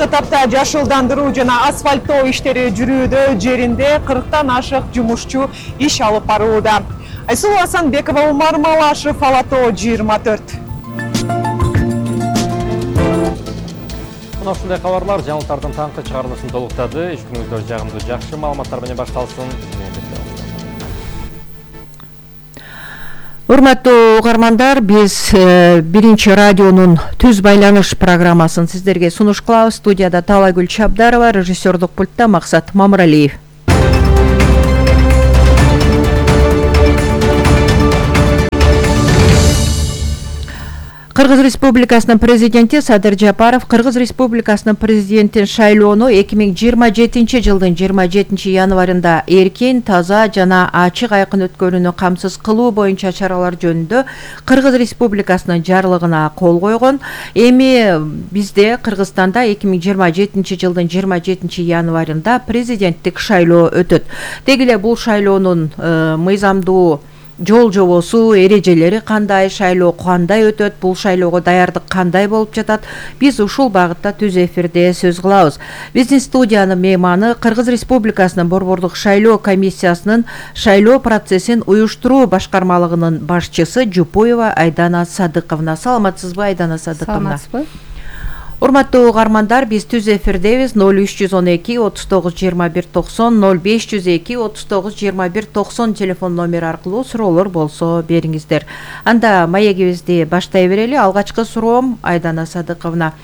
Азыркы тапта жашылдандыруу жана асфальттоо иштери жүрүүдө, жеринде 40тан ашык жумушчу иш алып барууда. Айсулуу Асанбекова, Умар Малашев, Ала-Тоо 24. Мына ушундай кабарлар жаңылыктардын таңкы чыгарылышын толуктады. Иш күнүңүздөр жагымдуу, жакшы маалыматтар менен башталсын. Урматтуу угармандар, биз биринчи радионун түз байланыш программасын сиздерге сунуш кылабыз. Студияда Талайгүл Чабдарова, режиссердук пультта Максат Мамыралиев. Кыргыз Республикасынын президенти Садыр Жапаров Кыргыз Республикасынын президентин шайлоону 2027 жылдын 27 январында эркин, таза жана ачык айкын өткөрүүнү камсыз кылуу боюнча чаралар жөнүндө Кыргыз Республикасынын жарлыгына кол койгон. Эми бизде Кыргызстанда 2027 жылдын 27 январында президенттик шайлоо өтөт. Деги эле бул шайлоонун мыйзамдуу жол жобосу, эрежелери кандай, шайлоо кандай өтөт, бул шайлоого даярдык кандай болуп жатат, биз ушул багытта түз эфирде сөз кылабыз. Биздин студиянын мейманы Кыргыз Республикасынын Борбордук шайлоо комиссиясынын шайлоо процессин уюштуруу башкармалыгынын башчысы Жупуева Айдана Садыковна. Саламатсызбы, Айдана Садыковна? Саламатсызбы. Урматтуу угармандар, биз түз эфирдебиз. 0312 39 21 90 0502 39 21 90 телефон номери аркылуу суроолор болсо бериңиздер. Анда маегибизди баштай берели. Алгачкы суроом, Айдана Садыковна.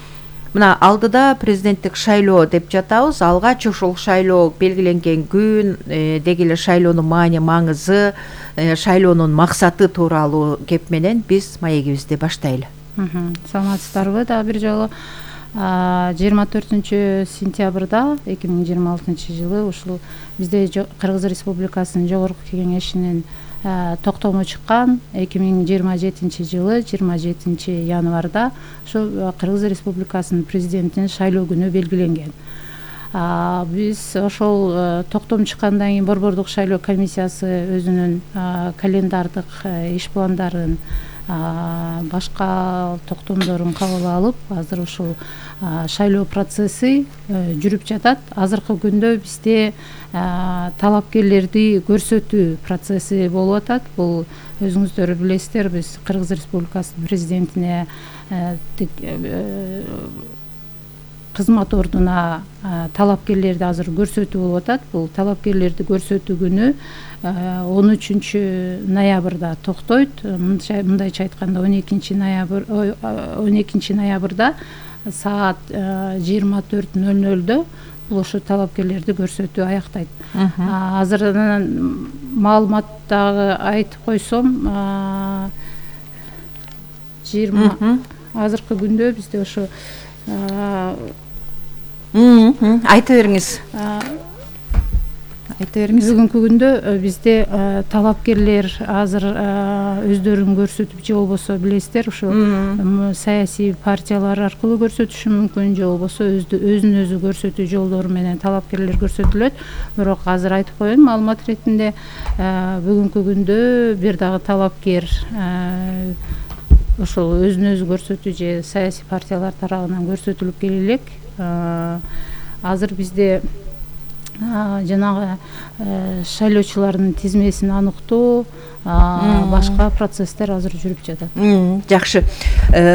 Мына алдыда президенттик шайлоо деп жатабыз. Алгач ушул шайлоо белгиленген күн, деги эле шайлоонун маани маңызы, шайлоонун максаты тууралуу кеп менен биз маегибизди баштайлы. Саламатсыздарбы? Дагы бир жолу 24 сентябрда 2026 жылы ушул бизде Кыргыз Республикасынын Жогорку Кеңешинин токтому чыккан 2027 жылы 27 январда ушу Кыргыз Республикасынын президентин шайлоо күнү белгиленген. Биз ошол токтом чыккандан кийин Борбордук шайлоо комиссиясы өзүнүн календардык иш пландарын, башка токтомдорун кабыл алып, азыр ушул шайлоо процесси жүрүп жатат. Азыркы күндө бизде талапкерлерди көрсөтүү процесси болуп атат. Бул өзүңүздөр билесиздер, биз Кыргыз Республикасынын президентине кызмат ордуна талапкерлерди азыр көрсөтүү болуп атат. Бул талапкерлерди көрсөтүү күнү 13 ноябрда токтойт. Мындайча айтканда 12 ноябрда саат 24:00 бул ошо талапкерлерди көрсөтүү аяктайт. Азыр маалымат дагы айтып койсом, 20 азыркы күндө бизде ошо айта бериңиз. Бүгүнкү күндө бизде талапкерлер азыр өздөрүн көрсөтүп, же болбосо билесиздер, ушу саясий партиялар аркылуу көрсөтүшү мүмкүн, же болбосо өзүн өзү көрсөтүү жолдору менен талапкерлер көрсөтүлөт. Бирок азыр айтып коеюн маалымат иретинде, бүгүнкү күндө бир дагы талапкер ошол өзүн өзү көрсөтүү же саясий партиялар тарабынан көрсөтүлүп келе элек. Азыр бизде жанагы шайлоочулардын тизмесин аныктоо, башка процесстер азыр жүрүп жатат. Жакшы.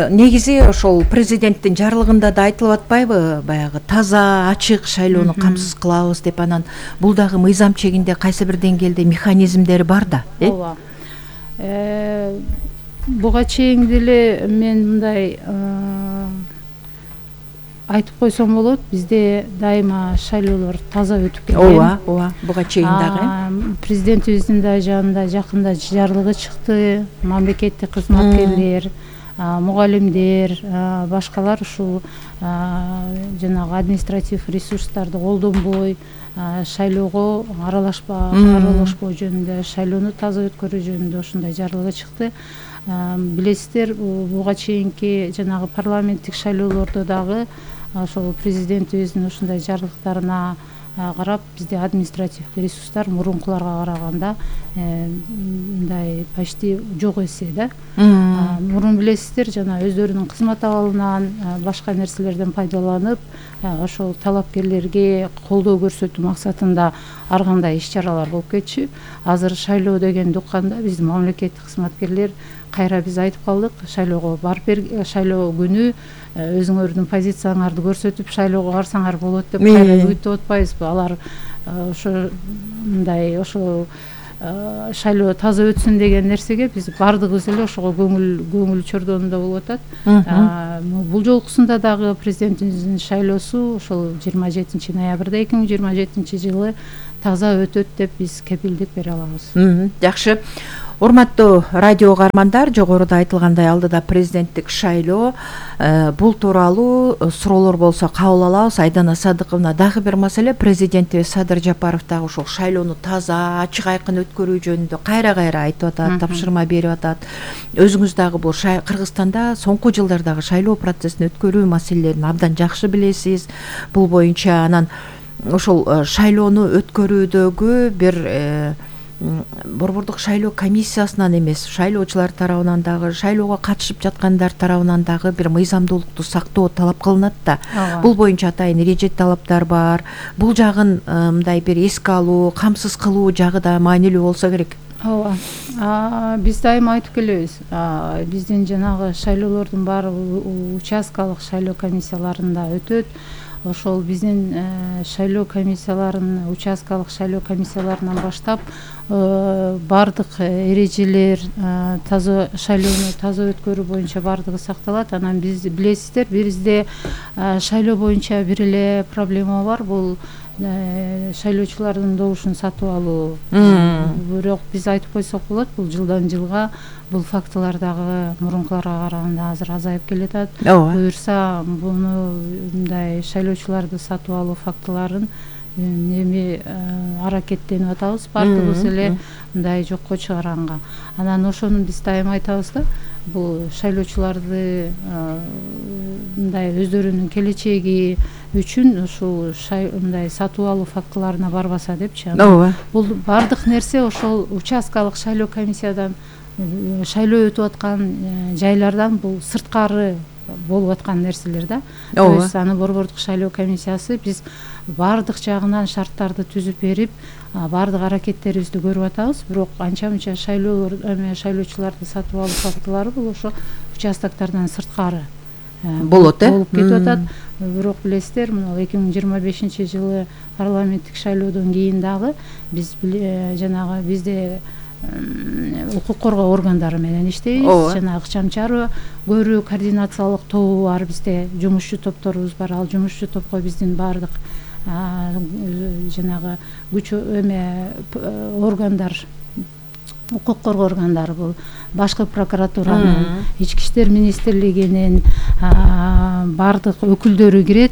Негизи ошол президенттин жарлыгында да айтылып атпайбы, баягы таза, ачык шайлоону камсыз кылабыз деп, анан бул дагы мыйзам чегинде кайсы бир деңгээлде механизмдери бар да, Ооба. Буга чейин деле мен мындай айтып койсом болот, бизде дайыма шайлоолор таза өтүп келген. Ооба, буга чейин дагы. Президентибиздин да жанында жакында жарлыгы чыкты. Мамлекеттик кызматкерлер, мугалимдер, башкалар ушул жанагы административ ресурстарды колдонбой, шайлоого аралашпоо жөнүндө, шайлоону таза өткөрүү жөнүндө ушундай жарлыгы чыкты. Билесиздер, буга чейинки жанагы парламенттик шайлоолордо дагы ошол президентибиздин ушундай жарлыктарына карап бизде административдик ресурстар мурункуларга караганда мындай почти жок эсе да. Мурун билесиздер, жана өздөрүнүн кызмат абалынан башка нерселерден пайдаланып ошол талапкерлерге колдоо көрсөтүү максатында ар кандай иш чаралар болуп кетчү. Азыр шайлоо дегенди укканда биздин мамлекеттик кызматкерлер кайра биз айтып калдык, шайлоого барып шайлоо күнү өзүңөрдүн позицияңарды көрсөтүп шайлоого барсаңар болот деп кайра үгүттөп атпайбызбы? Алар ошо мындай ошо шайлоо таза өтсүн деген нерсеге биз бардыгыбыз эле ошого көңүл чордонунда болуп атат. Бул жолкусунда дагы президентибиздин шайлоосу ошол 27 ноябрда 2027 жылы таза өтөт деп биз кепилдик бере алабыз. Жакшы. Урматтуу радио каармандар, жогоруда айтылгандай алдыда президенттик шайлоо, бул тууралуу суроолор болсо кабыл алабыз. Айдана Садыковна, дагы бир маселе, президентибиз Садыр Жапаров дагы ушул шайлоону таза, ачык айкын өткөрүү жөнүндө кайра айтып атат, тапшырма берип атат. Өзүңүз дагы бул Кыргызстанда соңку жылдардагы шайлоо процессин өткөрүү маселелерин абдан жакшы билесиз. Бул боюнча анан ошол шайлоону өткөрүүдөгү бир Борбордук шайлоо комиссиясынан эмес, шайлоочулар тарабынан дагы, шайлоого катышып жаткандар тарабынан дагы бир мыйзамдуулукту сактоо талап кылынат да. Бул боюнча атайын эреже талаптар бар. Бул жагын мындай бир эске алуу, камсыз кылуу жагы да маанилүү болсо керек. Ооба. Биз дайыма айтып келебиз. Биздин жанагы шайлоолордун баары участкалык шайлоо комиссияларында өтөт. Ошол биздин шайлоо комиссияларынын, участкалык шайлоо комиссияларынан баштап бардык эрежелер таза шайлоону таза өткөрүү боюнча бардыгы сакталат. Анан биз билесиздер, бизде шайлоо боюнча бир эле проблема бар, бул шайлоочулардын добушун сатып алуу. Бирок биз айтып койсок болот, бул жылдан жылга бул фактылар дагы мурункуларга караганда азыр азайып келатат. Буюрса буну мындай шайлоочуларды сатып алуу фактыларын аракеттенип атабыз, бардыгыбыз эле мындай жокко чыгаранга. Анан ошону биз дайыма айтабыз да, бул шайлоочуларды мындай өздөрүнүн келечеги үчүн ушул мындай сатып алуу фактыларына барбаса депчи. Бул бардык нерсе ошол участкалык шайлоо комиссиядан шайлоо өтүп аткан жайлардан бул сырткары болуп аткан нерселер да. То есть аны Борбордук шайлоо комиссиясы биз бардык жагынан шарттарды түзүп берип, бардык аракеттерибизди көрүп атабыз. Бирок анча-мынча шайлоочуларды сатып алуу фактылары бул ошо участоктардан сырткары болуп кетип атат. Бирок билесиздер, мына 2025 жылы парламенттик шайлоодон кийин дагы биз жанагы бизде укук коргоо органдары менен иштейбиз. Жана ыкчам чарба көрүү координациялык тобу бар, бизде жумушчу топторубуз бар. Ал жумушчу топко биздин бардык жанагы күч органдар, укук коргоо органдары, бул башкы прокуратуранын, ички иштер министрлигинин бардык өкүлдөрү кирет.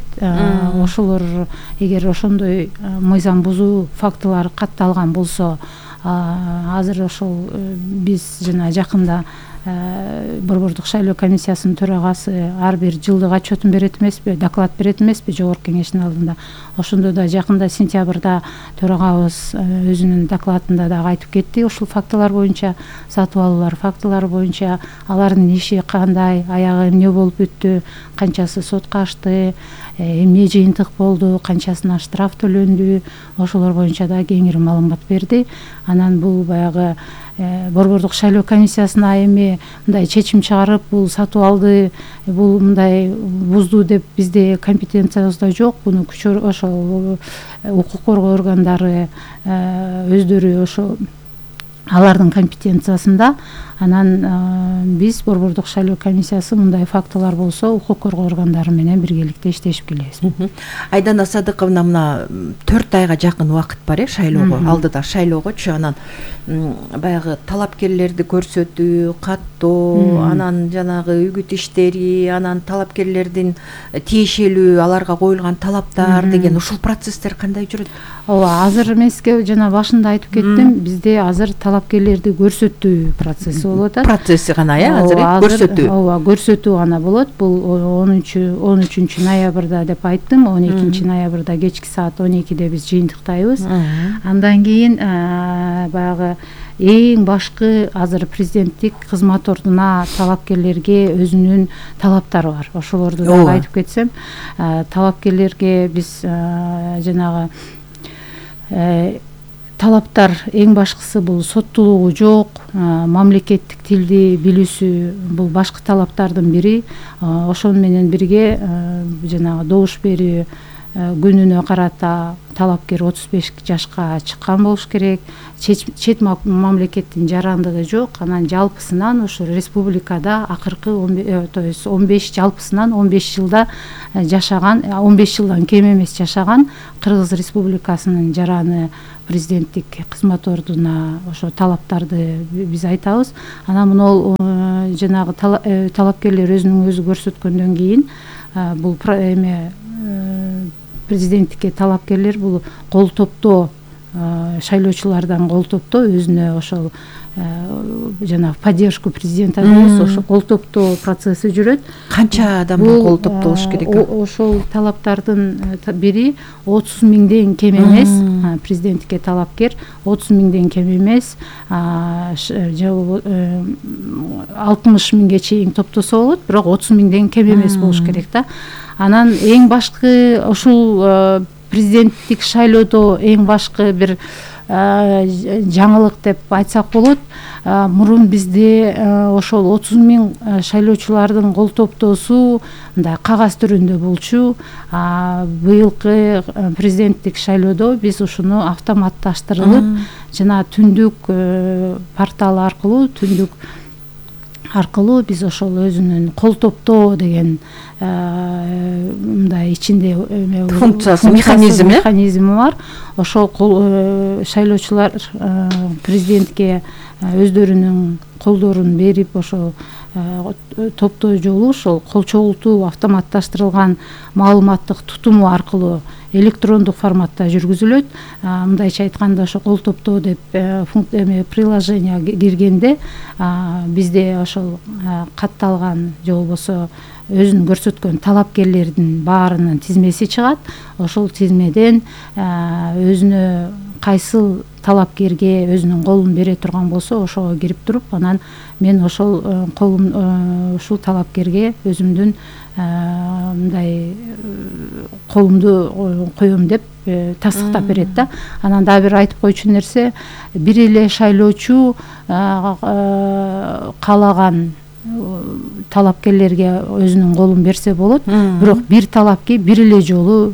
Ошолор эгер ошондой мыйзам бузуу фактылары катталган болсо, азыр ошол биз жана жакында Борбордук шайлоо комиссиясынын төрагасы ар бир жылдык отчетун берет эмеспи, доклад берет эмеспи жогорку кеңештин алдында. Ошондо да жакында сентябрда төрагабыз өзүнүн докладында дагы айтып кетти. Ушул фактылар боюнча, сатып алуулар фактылары боюнча алардын иши кандай, аягы эмне болуп өттү, канчасы сотко ашты, эмне жыйынтык болду, канчасына штраф төлөндү, ошолор боюнча да кеңири маалымат берди. Анан бул баягы Борбордук шайлоо комиссиясына эми мындай чечим чыгарып, бул сатып алды, бул мындай бузду деп бизде компетенциябызда жок. Буну ошол укук коргоо органдары өздөрү ошо алардын компетенциясында. Анан биз Борбордук шайлоо комиссиясы мындай фактылар болсо укук коргоо органдары менен биргеликте иштешип келебиз. Айдана Садыковна, мына 4 айга жакын убакыт бар шайлоого, алдыда шайлоогочу. Анан баягы талапкерлерди көрсөтүү, каттоо, анан жанагы үгүт иштери, анан талапкерлердин тиешелүү аларга коюлган талаптар деген ушул процесстер кандай жүрөт? Ооба, азыр мен сизге жана башында айтып кеттим, бизде азыр талап талапкерлерди көрсөтүү процесси болуп атат. Процесси гана азыр көрсөтүү. Ооба, көрсөтүү гана болот. Бул 13 ноябрда деп айттым. 12 ноябрда кечки саат 12-де биз жыйынтыктайбыз. Андан кийин баягы эң башкы азыр президенттик кызмат ордуна талапкерлерге өзүнүн талаптары бар. Ошолорду да айтып кетсем, талапкерлерге биз жанагы талаптар эң башкысы бул соттуулугу жок, мамлекеттик тилди билүүсү бул башкы талаптардын бири. Ошону менен бирге жанагы добуш берүү күнүнө карата талапкер 35 жашка чыккан болуш керек. Чет мамлекеттин жарандыгы жок. Анан жалпысынан ушу республикада акыркы 15 жалпысынан 15 жылда жашаган, 15 жылдан кем эмес жашаган Кыргыз Республикасынын жараны президенттик кызмат ордуна ошо талаптарды биз айтабыз. Анан мына жанагы талапкерлер өзүнүн өзү көрсөткөндөн кийин бул президенттикке талапкерлер бул кол топтоо, шайлоочулардан кол топтоо өзүнө ошол жана поддержку президента дейбиз, ошо кол топтоо процесси жүрөт. Канча адамга кол топтолуш керек? Ошол талаптардын бири 30 миңден кем эмес, президенттикке талапкер 30 миңден кем эмес, 60 миңге чейин топтосо болот, бирок 30 миңден кем эмес болуш керек да. Анан эң башкы ушул президенттик шайлоодо эң башкы бир жаңылык деп айтсак болот. Мурун бизде ошол 30 миң шайлоочулардын кол топтоосу мындай кагаз түрүндө болчу. Быйылкы президенттик шайлоодо биз ушуну автоматташтырылып, жана түндүк портал аркылуу биз ошол өзүнүн кол топтоо деген мындай ичинде функциясы, механизми бар. Ошол шайлоочулар президентке өздөрүнүн колдорун берип, ошол топтоо жолу ошол кол чогултуу автоматташтырылган маалыматтык тутуму аркылуу электрондук форматта жүргүзүлөт. Мындайча айтканда ошо кол топтоо деп приложение киргенде бизде ошол катталган же болбосо өзүн көрсөткөн талапкерлердин баарынын тизмеси чыгат. Ошол тизмеден өзүнө кайсыл талапкерге өзүнүн колун бере турган болсо ошого кирип туруп, анан мен ошол ушул талапкерге өзүмдүн мындай колумду коем деп тастыктап берет да. Анан дагы бир айтып койчу нерсе, бир эле шайлоочу каалаган талапкерлерге өзүнүн колун берсе болот, бирок бир талапкер бир эле жолу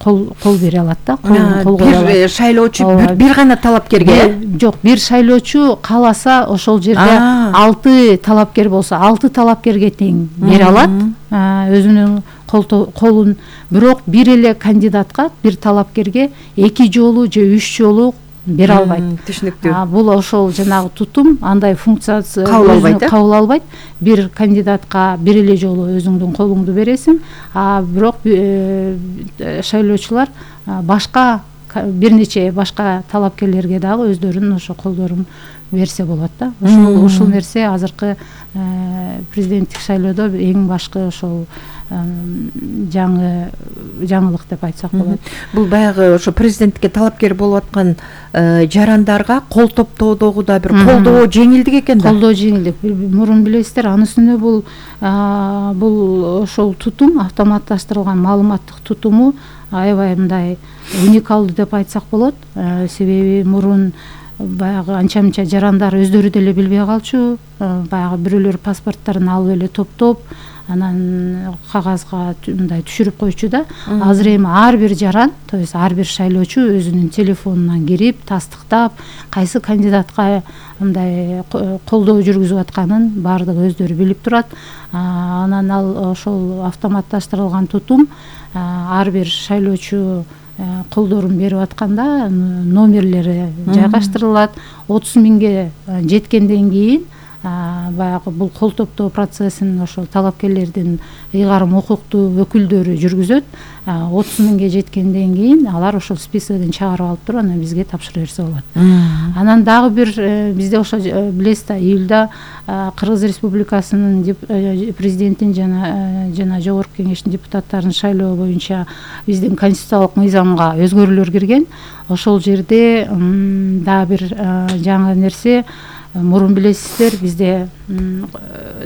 кол бере алат да. Бир шайлоочу бир гана талапкерге? Жок, бир шайлоочу кааласа ошол жерде 6 талапкер болсо 6 талапкерге тең бере алат өзүнүн колун. Бирок бир эле кандидатка, бир талапкерге 2 жолу же 3 жолу бере албайт. Түшүнүктүү. Бул ошол жанагы тутум андай функциясы кабыл албайт. Бир кандидатка бир эле жолу өзүңдүн колуңду бересиң, бирок шайлоочулар башка бир нече башка талапкерлерге дагы өздөрүнүн ошо колдорун берсе болот да. Ушул нерсе азыркы президенттик шайлоодо эң башкы ошол жаңылык деп айтсак болот. Бул баягы ошо президенттикке талапкер болуп аткан жарандарга кол топтоодогу да бир колдоо жеңилдик экен да. Колдоо жеңилдик. Мурун билесиздер, анын үстүнө бул ошол тутум, автоматташтырылган маалыматтык тутуму аябай мындай уникалдуу деп айтсак болот. Себеби мурун баягы анча-мынча жарандар өздөрү деле билбей калчу. Баягы бирөөлөр паспорттарын алып эле топтоп, анан кагазга мындай түшүрүп койчу да. Азыр эми ар бир жаран, то есть ар бир шайлоочу өзүнүн телефонунан кирип, тастыктап, кайсы кандидатка мындай колдоо жүргүзүп атканын баардыгы өздөрү билип турат. Анан ал ошол автоматташтырылган тутум ар бир шайлоочу колдорун берип атканда номерлери жайгаштырылат. 30 миңге жеткенден кийин баягы бул кол топтоо процессин ошол талапкерлердин ыйгарым укуктуу өкүлдөрү жүргүзөт. 30 миңге жеткенден кийин алар ошол списогдон чыгарып алып туруп анан бизге тапшыра берсе болот. Анан дагы бир бизде ошо билесиз да, июлда Кыргыз Республикасынын президентин жана жогорку кеңештин депутаттарын шайлоо боюнча биздин конституциялык мыйзамга өзгөрүүлөр кирген. Ошол жерде дагы бир жаңы нерсе, мурун билесиздер, бизде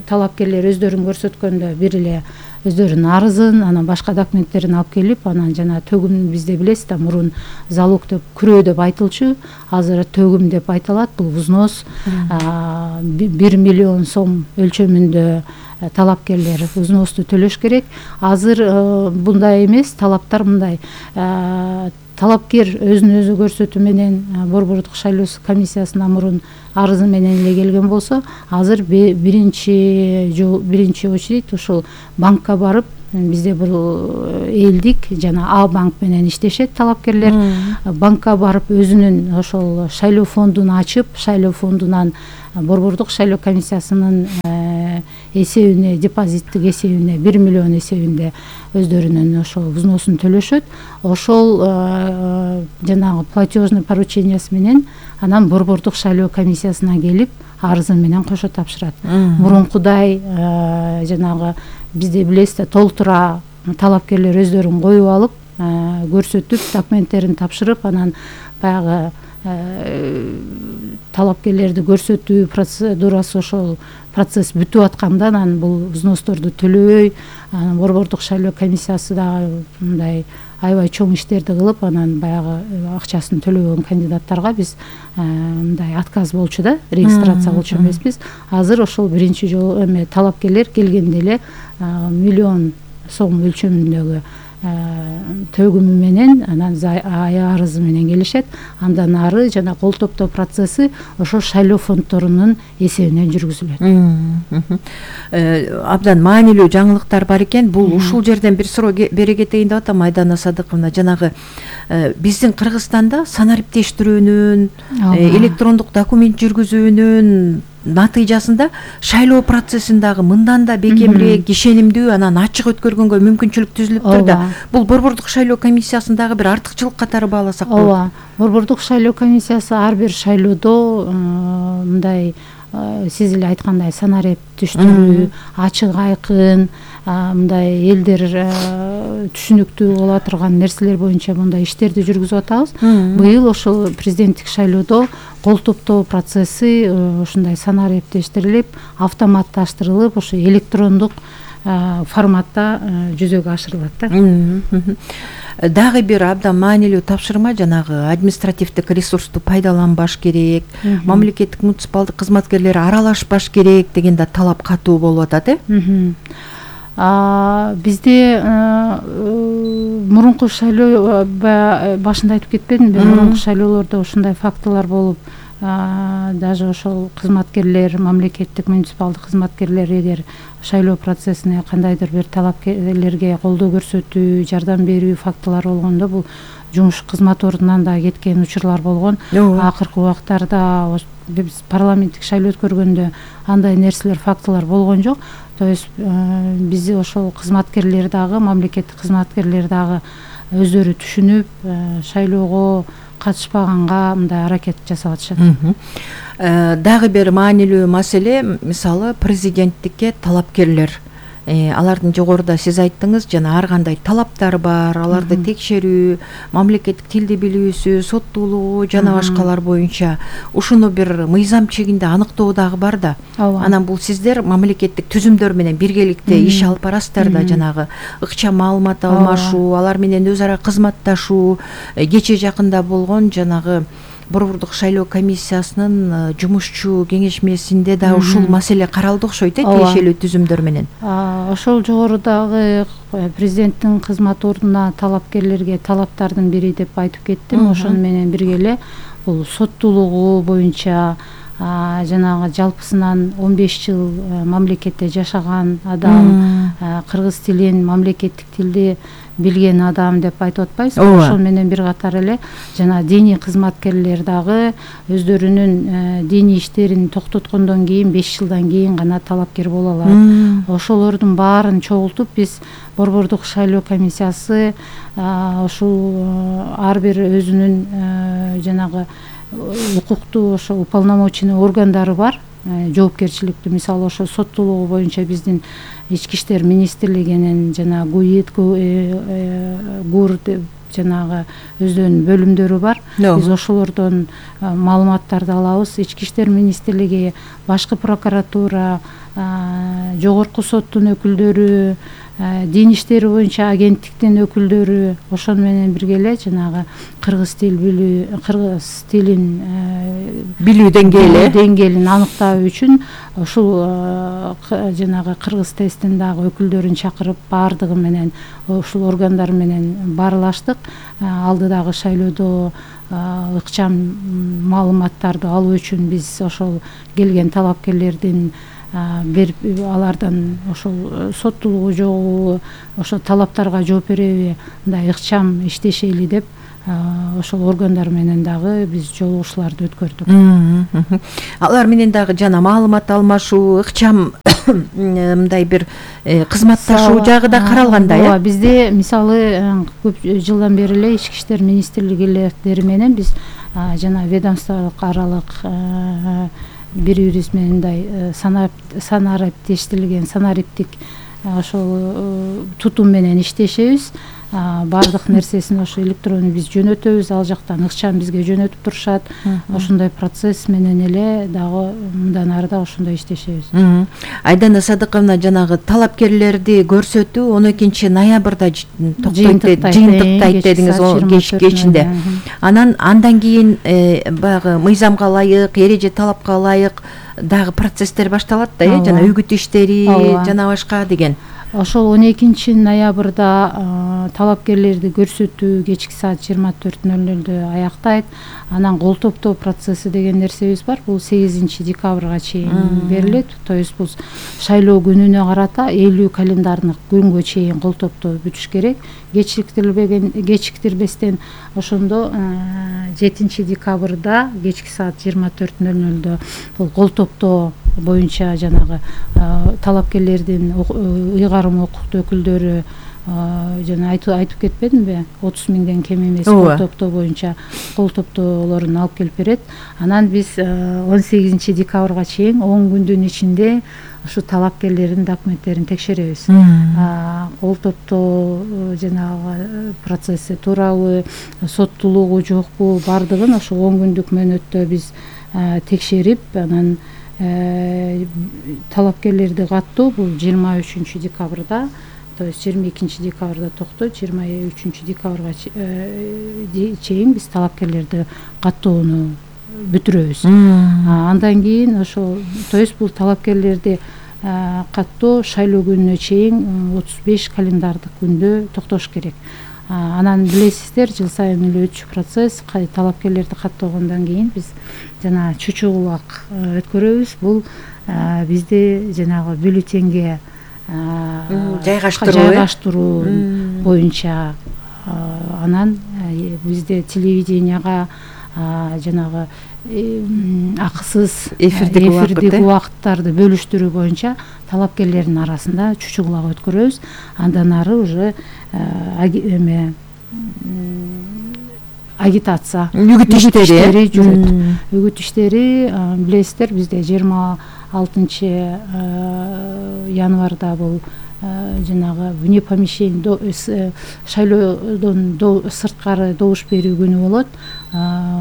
талапкерлер өздөрүн көрсөткөндө бир эле өздөрүнүн арызын, анан башка документтерин алып келип, анан жана төгүм бизде билесиз да, мурун залог деп, күрөө деп айтылчу, азыр төгүм деп айтылат. Бул взнос 1 миллион сом өлчөмүндө талапкерлер взносту төлөш керек. Азыр мындай эмес, талаптар мындай. Талапкер өзүн өзү көрсөтүү менен Борбордук шайлоо комиссиясына мурун арызы менен эле келген болсо, азыр биринчи очередь ошол банкка барып, бизде бул элдик жана А банк менен иштешет талапкерлер. Банкка барып өзүнүн ошол шайлоо фондун ачып, шайлоо фондунан Борбордук шайлоо комиссиясынын эсебине, депозиттик эсебине 1 миллион эсебинде өздөрүнүн ошол взносун төлөшөт. Ошол жанагы платежный поручениясы менен анан Борбордук шайлоо комиссиясына келип арызы менен кошо тапшырат. Мурункудай жанагы бизде билесиз да, толтура талапкерлер өздөрүн коюп алып, көрсөтүп, документтерин тапшырып, анан баягы талапкерлерди көрсөтүү процедурасы, ошол процесс бүтүп атканда анан бул взносторду төлөбөй, Борбордук шайлоо комиссиясы дагы мындай аябай чоң иштерди кылып, анан баягы акчасын төлөбөгөн кандидаттарга биз мындай отказ болчу да, регистрация кылчу эмеспиз. Азыр ошол биринчи жолу талапкерлер келгенде эле миллион сом өлчөмүндөгү төгүмү менен анан арызы менен келишет. Андан ары жана кол топтоо процесси ошол шайлоо фонддорунун эсебинен жүргүзүлөт. Абдан маанилүү жаңылыктар бар экен. Бул ушул жерден бир суроо бере кетейин деп атам, Айдана Садыковна. Жанагы биздин Кыргызстанда санариптештирүүнүн, электрондук документ жүргүзүүнүн натыйжасында шайлоо процессин дагы мындан да бекемирээк, ишенимдүү, анан ачык өткөргөнгө мүмкүнчүлүк түзүлүптүр да. Бул Борбордук шайлоо комиссиясындагы бир артыкчылык катары бааласак болот. Ооба, Борбордук шайлоо комиссиясы ар бир шайлоодо мындай сиз эле айткандай санариптештирүү, ачык айкын, мындай элдер түшүнүктүү боло турган нерселер боюнча мындай иштерди жүргүзүп атабыз. Быйыл ошол президенттик шайлоодо кол топтоо процесси ушундай санариптештирилип, автоматташтырылып, ошо электрондук форматта жүзөгө ашырылат да. Дагы бир абдан маанилүү тапшырма, жанагы административдик ресурсту пайдаланбаш керек, мамлекеттик муниципалдык кызматкерлер аралашпаш керек деген да талап катуу болуп атат, Бизде мурунку шайлоо башында айтып кетпедимби, мурунку шайлоолордо ушундай фактылар болуп, даже ошол кызматкерлер, мамлекеттик муниципалдык кызматкерлер эгер шайлоо процессине кандайдыр бир талапкерлерге колдоо көрсөтүү, жардам берүү фактылары болгондо, бул жумуш кызмат ордунан да кеткен учурлар болгон. Акыркы убактарда биз парламенттик шайлоо өткөргөндө андай нерселер, фактылар болгон жок. То есть биз ошол кызматкерлер дагы, мамлекеттик кызматкерлер дагы өздөрү түшүнүп, шайлоого катышпаганга мындай аракет жасап атышат. Дагы бир маанилүү маселе, мисалы президенттикке талапкерлер. Алардын жогоруда сиз айттыңыз, жана ар кандай талаптар бар, аларды текшерүү, мамлекеттик тилди билүүсү, соттуулугу жана башкалар боюнча ушуну бир мыйзам чегинде аныктоо дагы бар да. Анан бул сиздер мамлекеттик түзүмдөр менен биргеликте иш алып барасыздар да, жанагы ыкчам маалымат алмашуу, алар менен өз ара кызматташуу, кечээ жакында болгон жанагы Борбордук шайлоо комиссиясынын жумушчу кеңешмесинде да ушул маселе каралды окшойт, тиешелүү түзүмдөр менен. Ошол жогорудагы президенттин кызмат ордуна талапкерлерге талаптардын бири деп айтып кеттим. Ошону менен бирге эле бул соттуулугу боюнча, жанагы жалпысынан 15 жыл мамлекетте жашаган адам, кыргыз тилин мамлекеттик тилди билген адам деп айтып атпайбызбы? Ошол менен бир катар эле жана диний кызматкерлер дагы өздөрүнүн диний иштерин токтоткондон кийин 5 жылдан кийин гана талапкер боло алат. Ошолордун баарын чогултуп биз Борбордук шайлоо комиссиясы ушул ар бир өзүнүн жанагы укуктуу ошо уполномоченный органдары бар, жоопкерчиликтүү. Мисалы ошо соттуулугу боюнча биздин Ички иштер министрлигинин жана ГУИД, ГУР жанагы өздөрүнүн бөлүмдөрү бар. Биз ошолордон маалыматтарды алабыз. Ички иштер министрлиги, башкы прокуратура, жогорку соттун өкүлдөрү, дин иштери боюнча агенттиктин өкүлдөрү ошону менен бирге эле жанагы кыргыз тилин билүү деңгээлин аныктоо үчүн ушул жанагы кыргыз тесттин дагы өкүлдөрүн чакырып баардыгы менен ушул органдар менен баарлаштык. Алдыдагы шайлоодо ыкчам маалыматтарды алуу үчүн биз ошол келген талапкерлердин алардан ошол соттуулугу жогу, ошол талаптарга жооп береби, мындай ыкчам иштешели деп ошол органдар менен дагы биз жолугушууларды өткөрдүк. Алар менен дагы жана маалымат алмашуу, ыкчам мындай бир кызматташуу жагы да каралгандай. Бизде мисалы көп жылдан бери эле Ички иштер министрликтери менен биз жана ведомстволук аралык бири-бирибиз менен мындай санариптештирилген санариптик ошол тутум менен иштешебиз. Баардык нерсесин ошо электронду биз жөнөтөбүз, ал жактан ыкчам бизге жөнөтүп турушат. Ошондой процесс менен эле дагы мындан ары да ошондой иштешебиз. Айдана Садыковна, жанагы талапкерлерди көрсөтүү 12 ноябрда жыйынтыктайт дедиңиз кечинде. Андан кийин баягы мыйзамга ылайык, эреже талапка ылайык дагы процесстер башталат да, жана үгүт иштери жана башка деген. Ошол 12 ноябрда талапкерлерди көрсөтүү кечки саат 24:00 аяктайт. Анан кол топтоо процесси деген нерсебиз бар. Бул 8 декабрга чейин берилет. То есть бул шайлоо күнүнө карата 50 календардык күнгө чейин кол топтоо бүтүш керек. Кечиктирбестен ошондо 7 декабрда кечки саат 24:00 бул кол топтоо боюнча жанагы талапкерлердин ыйгарым укуктуу өкүлдөрү жана айтып кетпедимби, 30 миңден кем эмес кол топтоо боюнча кол топтоолорун алып келип берет. Анан биз 18 декабрга чейин 10 күндүн ичинде ушу талапкерлердин документтерин текшеребиз. Кол топтоо жанагы процесси туурабы, соттуулугу жокпу, бардыгын ошо 10 күндүк мөөнөттө биз текшерип, анан талапкерлерди каттоо бул 23 декабрда, то есть 22 декабрда токтойт, 23 декабрга чейин биз талапкерлерди каттоону бүтүрөбүз. Андан кийин ошо, то есть бул талапкерлерди каттоо шайлоо күнүнө чейин 35 календардык күндө токтош керек. Анан билесиздер, жыл сайын эле өтчү процесс, талапкерлерди каттоогондон кийин биз жана чучугулак өткөрөбүз. Бул бизде жанагы бюллетенге жайгаштыруу боюнча. Анан бизде телевиденияга жанагы акысыз эфирдик убакыттарды бөлүштүрүү боюнча талапкерлердин арасында чучугулак өткөрөбүз. Андан ары уже агитация, үгүт иштери жүрөт. Үгүт иштери билесиздер, бизде 26 январда бул жанагы вне помещения шайлоодон сырткары добуш берүү күнү болот.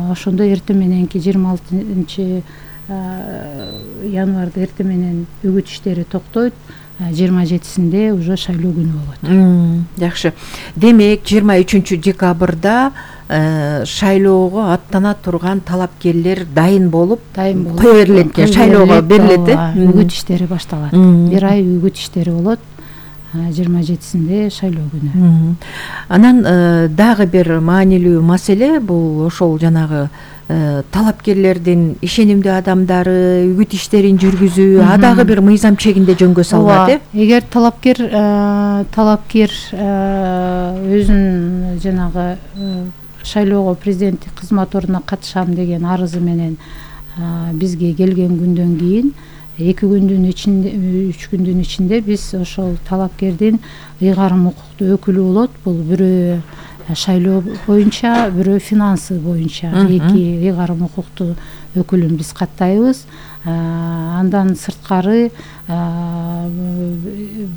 Ошондо эртең мененки 26 январда эртең менен үгүт иштери токтойт. 27-синде уже шайлоо күнү болот. Жакшы. Демек 23 декабрда шайлоого аттана турган талапкерлер дайын болуп кое берилет, шайлоого берилет. Үгүт иштери башталат. Бир ай үгүт иштери болот. 27-синде шайлоо күнү. Анан дагы бир маанилүү маселе бул ошол жанагы талапкерлердин ишенимдүү адамдары үгүт иштерин жүргүзүү, дагы бир мыйзам чегинде жөнгө салынат. Эгер талапкер өзүнүн жанагы шайлоого президенттик кызмат ордуна катышам деген арызы менен бизге келген күндөн кийин 2 күндүн ичинде, 3 күндүн ичинде биз ошол талапкердин ыйгарым укуктуу өкүлү болот. Бул бирөө шайлоо боюнча, бирөө финансы боюнча 2 ыйгарым укуктуу өкүлүн биз каттайбыз. Андан сырткары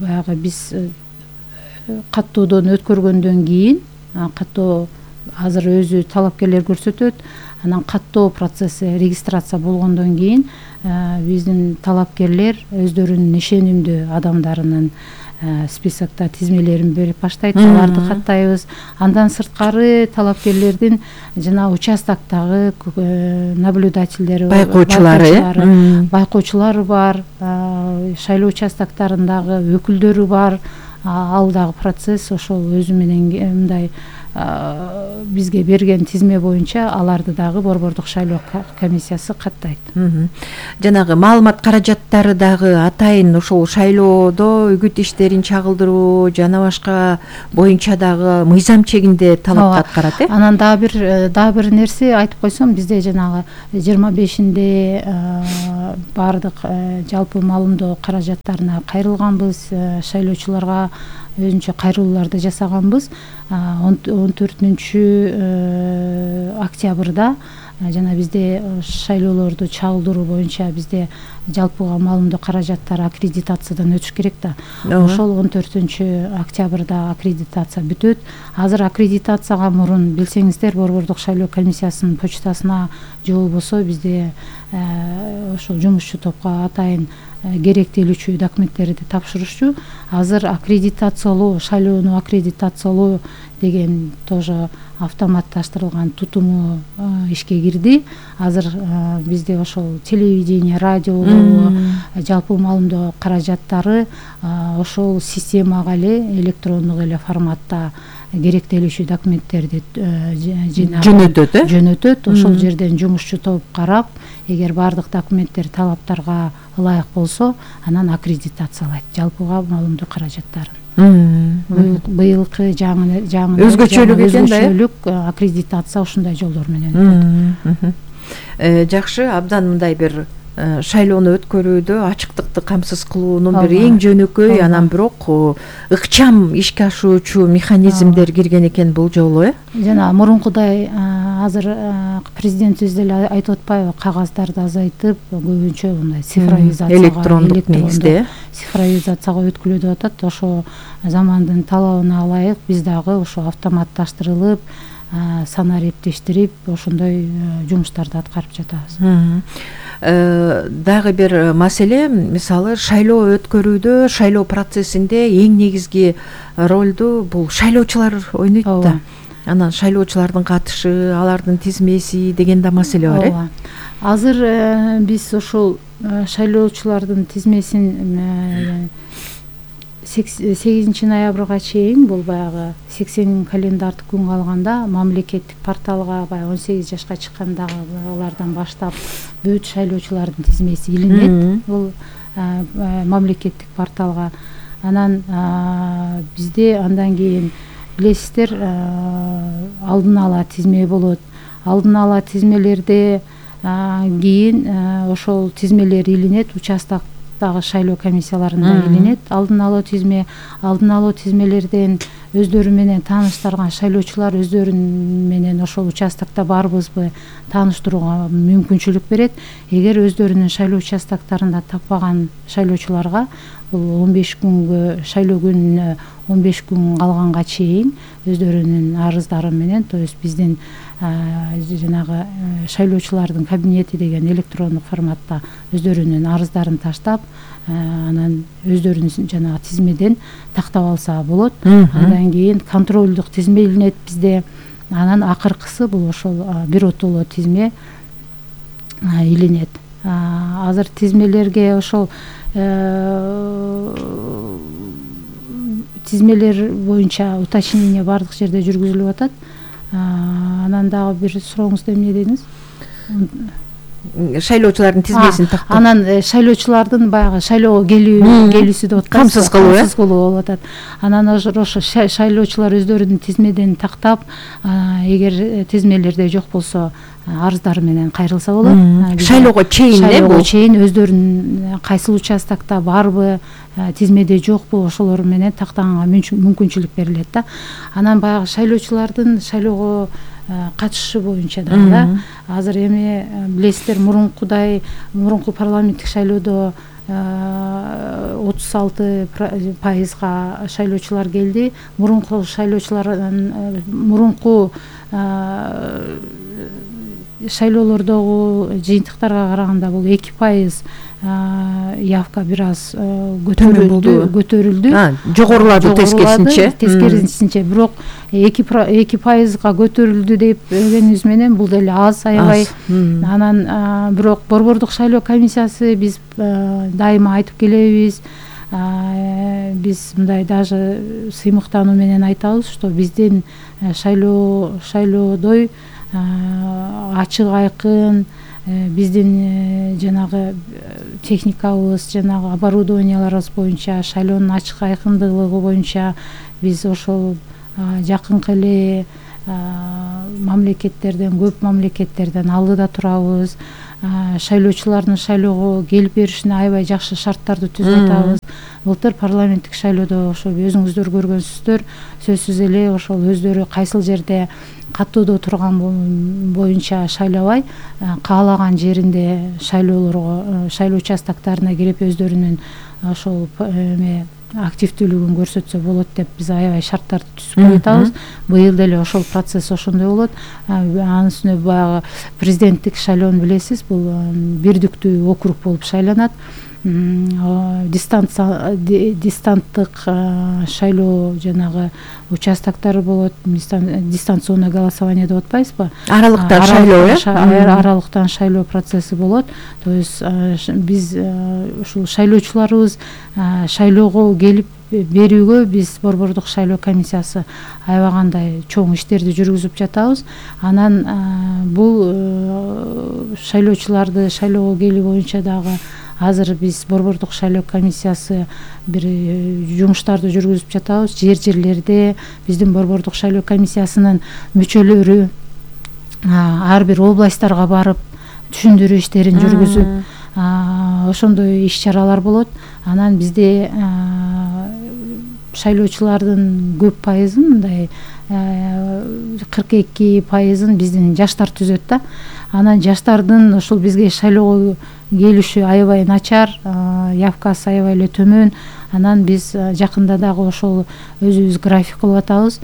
баягы биз каттоодон өткөргөндөн кийин, каттоо азыр өзү талапкерлер көрсөтөт. Анан каттоо процесси регистрация болгондон кийин биздин талапкерлер өздөрүнүн ишенимдүү адамдарынын списокто тизмелерин берип баштайт, аларды каттайбыз. Андан сырткары талапкерлердин жана участоктогу наблюдательдери, байкоочулары бар, шайлоо участокторундагы өкүлдөрү бар. Ал дагы процесс ошол өзү менен мындай бизге берген тизме боюнча аларды дагы Борбордук шайлоо комиссиясы каттайт. Жанагы маалымат каражаттары дагы атайын ошол шайлоодо үгүт иштерин чагылдыруу жана башка боюнча дагы мыйзам чегинде талапты аткарат. Анан дагы бир нерсе айтып койсом, бизде жанагы 25-инде баардык жалпы маалымдоо каражаттарына кайрылганбыз, шайлоочуларга өзүнчө кайрылууларды жасаганбыз. 14 октябрда жана бизде шайлоолорду чагылдыруу боюнча бизде жалпыга маалымдоо каражаттары аккредитациядан өтүш керек да. Ошол 14 октябрда аккредитация бүтөт. Азыр аккредитацияга мурун билсеңиздер, Борбордук шайлоо комиссиясынын почтасына же болбосо бизде ошол жумушчу топко атайын керектелүүчү документтерди тапшырышчу. Азыр аккредитациялоо, шайлоону аккредитациялоо деген тоже автоматташтырылган тутуму ишке кирди. Азыр бизде ошол телевидение, радио, жалпы маалымдоо каражаттары ошол системага эле электрондук эле форматта керектелүүчү документтерди жөнөтөт. Ошол жерден жумушчу топ карап, эгер баардык документтер талаптарга ылайык болсо, анан аккредитациялайт жалпыга маалымдоо каражаттарын. Быйылкы жаңы өзгөчөлүк экен да. Өзгөчөлүк аккредитация ушундай жолдор менен өтөт. Жакшы, абдан мындай бир шайлоону өткөрүүдө ачыктыкты камсыз кылуунун бир эң жөнөкөй, анан бирок ыкчам ишке ашуучу механизмдер кирген экен бул жолу. Жана мурункудай азыр президентибиз деле айтып атпайбы, кагаздарды азайтып, көбүнчө мындай цифровизацияга, электрондук негизде цифровизацияга өткүлө деп атат. Ошо замандын талабына ылайык биз дагы ошо автоматташтырылып, санар эптештирип, ошондой жумуштарды аткарып жатабыз. Дагы бир маселе, мисалы шайлоо өткөрүүдө, шайлоо процессинде эң негизги ролду бул шайлоочулар ойнойт да. Анан шайлоочулардын катышы, алардын тизмеси деген да маселе бар. Азыр биз ошол шайлоочулардын тизмесин 8 ноябрга чейин, бул баягы 80 календардык күн калганда мамлекеттик порталга баягы 18 жашка чыккандагылардан баштап бүт шайлоочулардын тизмеси илинет. Бул мамлекеттик порталга. Анан бизде андан кийин билесиздер, алдын ала тизме болот. Алдын ала тизмелерде кийин ошол тизмелер илинет, участоктогу шайлоо комиссияларында илинет. Алдын ала тизмелерден өздөрү менен тааныштырган шайлоочулар өздөрү менен ошол участокто барбызбы тааныштырууга мүмкүнчүлүк берет. Эгер өздөрүнүн шайлоо участокторунда таппаган шайлоочуларга бул 15 күнгө, шайлоо күнүнө 15 күн калганга чейин өздөрүнүн арыздары менен, то есть биздин жанагы шайлоочулардын кабинети деген электрондук форматта өздөрүнүн арыздарын таштап, анан өздөрүнүн жанагы тизмеден тактап алса болот. Андан кийин контролдук тизме илинет бизде. Анан акыркысы бул ошол биротоло тизме илинет. Азыр тизмелерге ошол тизмелер боюнча уточнение баардык жерде жүргүзүлүп атат. Анан дагы бир сурооңузда эмне дедиңиз? Шайлоочулардын тизмесин тактоо. Анан шайлоочулардын баягы шайлоого келүүсү деп атат. Камсыз кылуу, камсыз кылуу болуп атат. Анан ошо шайлоочулар өздөрүнүн тизмеден тактап, эгер тизмелерде жок болсо арыздары менен кайрылса болот. Шайлоого чейин Шайлоого чейин өздөрүнүн кайсыл участокто барбы, тизмеде жокпу, ошолор менен тактаганга мүмкүнчүлүк берилет да. Анан баягы шайлоочулардын шайлоого катышышы боюнча да азыр эми билесиздер, мурунку парламенттик шайлоодо 36% шайлоочулар келди. Мурунку шайлоолордогу жыйынтыктарга караганда бул 2% явка бир аз көтөрүлдү. Жогорулады тескерисинче. Бирок 2%га көтөрүлдү деп дегенибиз менен бул деле аз, аябай. Анан бирок Борбордук шайлоо комиссиясы биз дайыма айтып келебиз. Биз мындай даже сыймыктануу менен айтабыз, что биздин шайлоодой ачык айкын, биздин жанагы техникабыз, жанагы оборудованияларыбыз боюнча, шайлоонун ачык айкындыгы боюнча биз ошол жакынкы эле мамлекеттерден, көп мамлекеттерден алдыда турабыз. Шайлоочулардын шайлоого келип беришине аябай жакшы шарттарды түзүп атабыз. Былтыр парламенттик шайлоодо ошо өзүңүздөр көргөнсүздөр, сөзсүз эле ошол өздөрү кайсыл жерде каттоодо турган боюнча шайлабай, каалаган жеринде шайлоо участоктарына кирип өздөрүнүн ошол активдүүлүгүн көрсөтсө болот деп биз аябай шарттарды түзүп коюп атабыз. Быйыл деле ошол процесс ошондой болот. Анын үстүнө баягы президенттик шайлоону билесиз, бул бирдиктүү округ болуп шайланат. Дистанттык шайлоо жанагы участоктор болот. Дистанционное голосование деп атпайбызбы? Аралыктан шайлоо, аралыктан шайлоо процесси болот. То есть биз ушул шайлоочуларыбыз шайлоого келип берүүгө биз Борбордук шайлоо комиссиясы аябай кандай чоң иштерди жүргүзүп жатабыз. Анан бул шайлоочуларды шайлоого келүү боюнча дагы азыр биз Борбордук шайлоо комиссиясы бир жумуштарды жүргүзүп жатабыз. Жерлерде биздин Борбордук шайлоо комиссиясынын мүчөлөрү ар бир областтарга барып түшүндүрүү иштерин жүргүзүп, ошондой иш-чаралар болот. Анан бизде шайлоочулардын көп пайызын, мындай 42% биздин жаштар түзөт да. Анан жаштардын ошол бизге шайлоого келиши аябай начар, явкасы аябай эле төмөн. Анан биз жакында дагы ошол өзүбүз график кылып атабыз.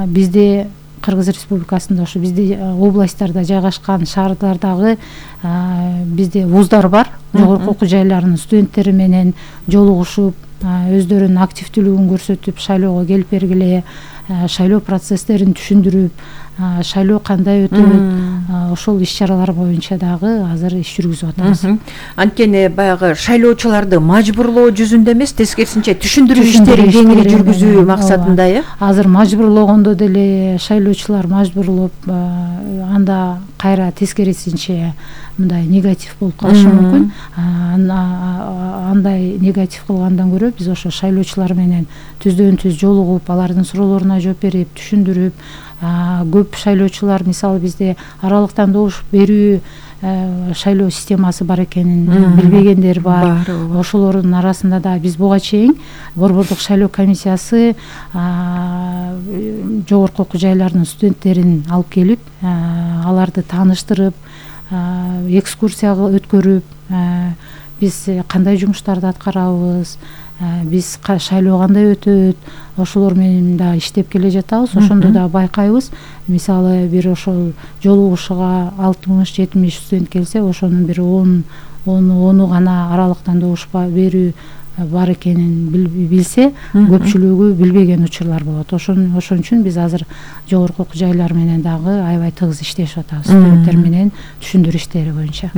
Бизде Кыргыз Республикасында ошо бизде областтарда жайгашкан шаардардагы бизде вуздар бар. Жогорку окуу жайларынын студенттери менен жолугушуп, өздөрүнүн активдүүлүгүн көрсөтүп, шайлоого келип бергиле, шайлоо процесстерин түшүндүрүп, шайлоо кандай өтөт, ошол иш-чаралар боюнча дагы азыр иш жүргүзүп атабыз. Анткени баягы шайлоочуларды мажбурлоо жүзүндө эмес, тескерисинче түшүндүрүү иштерин кеңири жүргүзүү максатында, Азыр мажбурлогондо деле шайлоочулар мажбурлоп, анда кайра тескерисинче мындай негатив болуп калышы мүмкүн. Андай негатив кылгандан көрө биз ошо шайлоочулар менен түздөн-түз жолугуп, алардын суроолоруна жооп берип, түшүндүрүп, көп шайлоочулар мисалы бизде аралыктан добуш берүү шайлоо системасы бар экенин билбегендер бар. Ошолордун арасында да биз буга чейин Борбордук шайлоо комиссиясы жогорку окуу жайларынын студенттерин алып келип, аларды тааныштырып, экскурсия өткөрүп, биз кандай жумуштарды аткарабыз, биз шайлоо кандай өтөт, ошолор менен да иштеп келе жатабыз. Ошондо да байкайбыз. Мисалы бир ошол жолугушууга 60-70 студент келсе, ошонун бир 10 гана аралыктан добуш берүү бар экенин билсе, көпчүлүгү билбеген учурлар болот. Ошон үчүн биз азыр жогорку окуу жайлар менен дагы аябай тыгыз иштешип атабыз, студенттер менен түшүндүрүү иштери боюнча.